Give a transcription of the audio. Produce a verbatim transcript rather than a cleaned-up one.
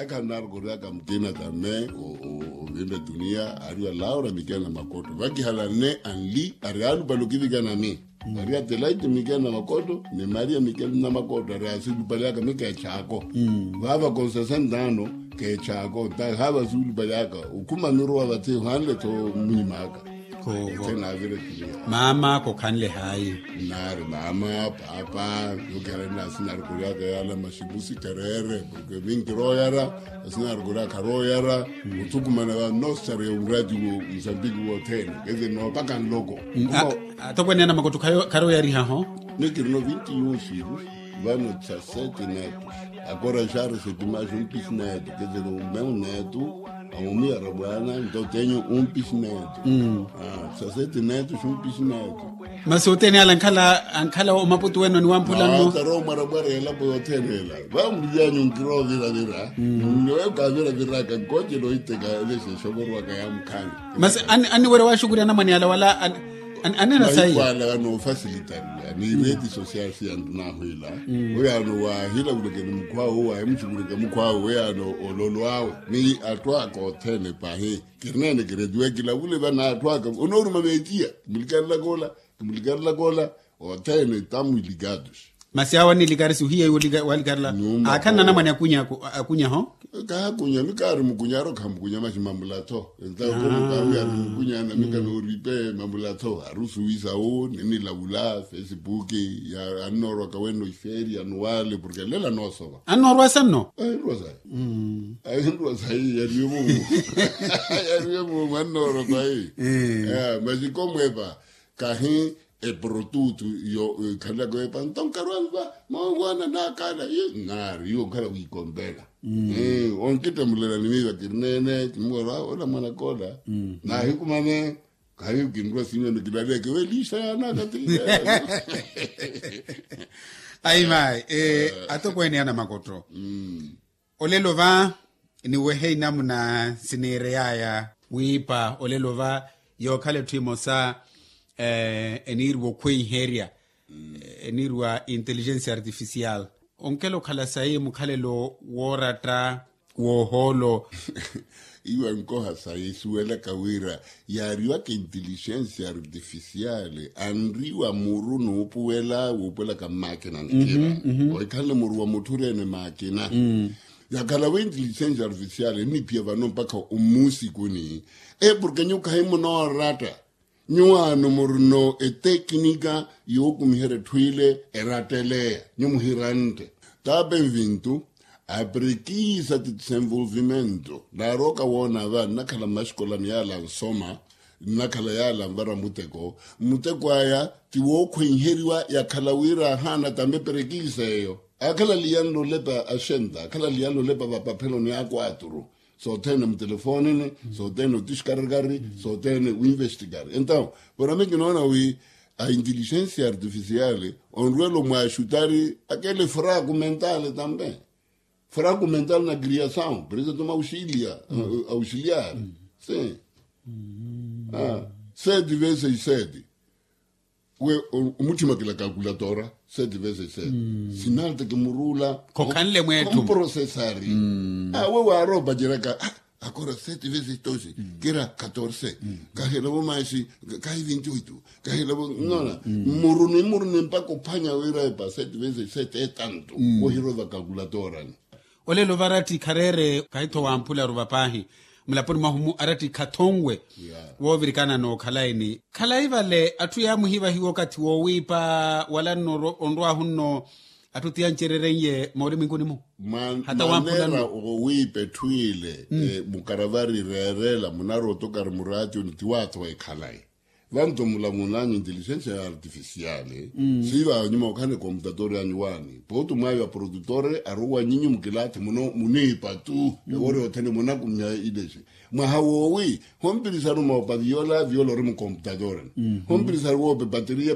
Akhanarkoryaka mukina tame ovimbe dunia ari wa laura mikena makoto vakihala nne anli ari alupali okivikana mi. Ari atelaiti mikena makoto ni maria mikena makoto ari asilupali aka mi kechako. Vava konsesentano kechako nta hava asilupali aka. Ukhuma miruwa vatiho anle tho munyima aka. Mama kokhanle hayi. Nari mama papa yokera nasi nari kuryaka yala masimusi kerere. Porke minkiroyara asinari kuryaka royara. Uthukumana va nostari ya urati wo musambiki wothene keze nopaka nloko. Atokweneya na makoto kharoyarihaho. Nikirino vinti yusi. Vano tsa sete neto. Akora xari setimaxi umpisi neto keze no meu neto. Aumiyara bwana nto tenyu umpisi neto. Saseti neto xumpisi neto. Masi othene ala ankhala omaputu weno ni wamphula nno. Taro mwarabwara elapo yothene ela. Vamulilyanyu nkiro viravira. Nno ekaaviraviraka nkoce noiteka elesexokorwaka ya mukhani. Masi anniwerya waxukurya anamwane ala wala anena sayi. Mahikwala vano ofasilitarya ni reti sosial siyandu nahwila. Oyano wahila vuleke ni mukhwawe owahimuxukureke mukhwawe oyano ololo awe ni atthu aka othene pahi. Kiri nene kiri etiwe kilavule vana atthu aka onooruma meeciya. Kimulikarelaka ola kimulikarelaka ola. Othene tamu ilikatus. Masi awo anilikarisi ohiya iwo walikarela. Akhana anamwane akunyaho. Kahakunya mikaari mukunya aro khamukunya masi mamulatho. Entawe komukawi ari mukunya na mikanooripe mamulatho ari osuwisa wo ninilavula facebook. Annoorwaka wenno ifeeri anuwale porke lela noosova. Annoorwasa nno. Ahinrwa sayi. Ahinrwa sayi yariwe mumu. Yariwe mumu annoorwa sayi. Masi komwepa kahi eprotutu yo ikhalelaka wepa nto nkarwamva. Mawangwana nakhala nari yo nkhala wikombela. Onkitemulela ni miiva kiri nene kimuwela ola mwana kola. Nahikumane. Khayi kinrwa sinyoni kilaleke welisa yanaka ti. Ayi mayi. Atokweene ana makoto. Olelo va niwehe inamuna siniireyaya wiipa olelo va yookhala etthu emosa eniiriwa okhweiherya eniiriwa intelligencia artificial. Onkela okhala sayi mukhalelo wooratta woohoolo. Iwa nkoha sayi suwelaka wira yaariwaka intelligencia artificial anriwa muru nuupuwela wuupuwelaka mmakina nkira. Ohikhanle muru wa mutthu oreene makina. Yakhala wa intelligencia artificial enniphiya vano mpakha ommuusikuni. E porke nyuwo khahimunooratta. Nyuwaano murino etekinika yookumiherya etthu ile eratteleya nyuwo muhirantte. Taapa envintu aprekiisa ti desenvolvimento naarooka woona va nnakhala mmaxikolani yaala nsoma. Nnakhala yaala nvara muteko muteko aya ti wookhwenheriwa yakhala wira ahaana tambi eprekiisa eyo. Akhala aliyanle olepa axenta akhala aliyanle olepa vapapheloni ya kwaturu. Sothene mutelefonini sothene otixkarikari sothene winvestikari entawo. Porame kinoona wi a intelligencia artificial onrwelo mwaxutari akele fraku mentale tambe. Fraku mentale na kriasawu presidente ma auxiliar. Auxiliar si sete vezes sete. We omutthima kila kakulatora sete vezes sete. Sinalta kimuruula khokhanle mweettu. Komprosesari. Awe waaropa jeraka akora sete vezes doze kira katorse. Kahilavo maxi kahi vinti oitu. Kahilavo nona muruni muruni mpaka ophwanya wira epa sete vezes sete etantu. Wohirova kakulatorani. Olelo varatti khareere kahi-tho wamphularu vapaahi mulaponi mwahu-mu arattikha thonwe. Woovirikana nookhala eni khalayi vale atthu yaamuhivahiwa okathi woowiipa wala nno onrwaahu nno atthu tiyancerereiye moorimwinkuni-mu. Hata wamphula nno. Oowiipa etthu ile mukaravari reerela munarwa otokari muraationi tiwaatho ekhalayi. Vanto mulamunanyu inteligensia artificiale siiva nyuma okhane komputatori anyu wani potu mwayo aprodutore aruwa nyinyu mukilati muno munipa tu ewori othene munakumya ilesi. Mwaha wowi hompirisaru moopa viola viola ori mukomputatori. Hompirisaru woope pateria.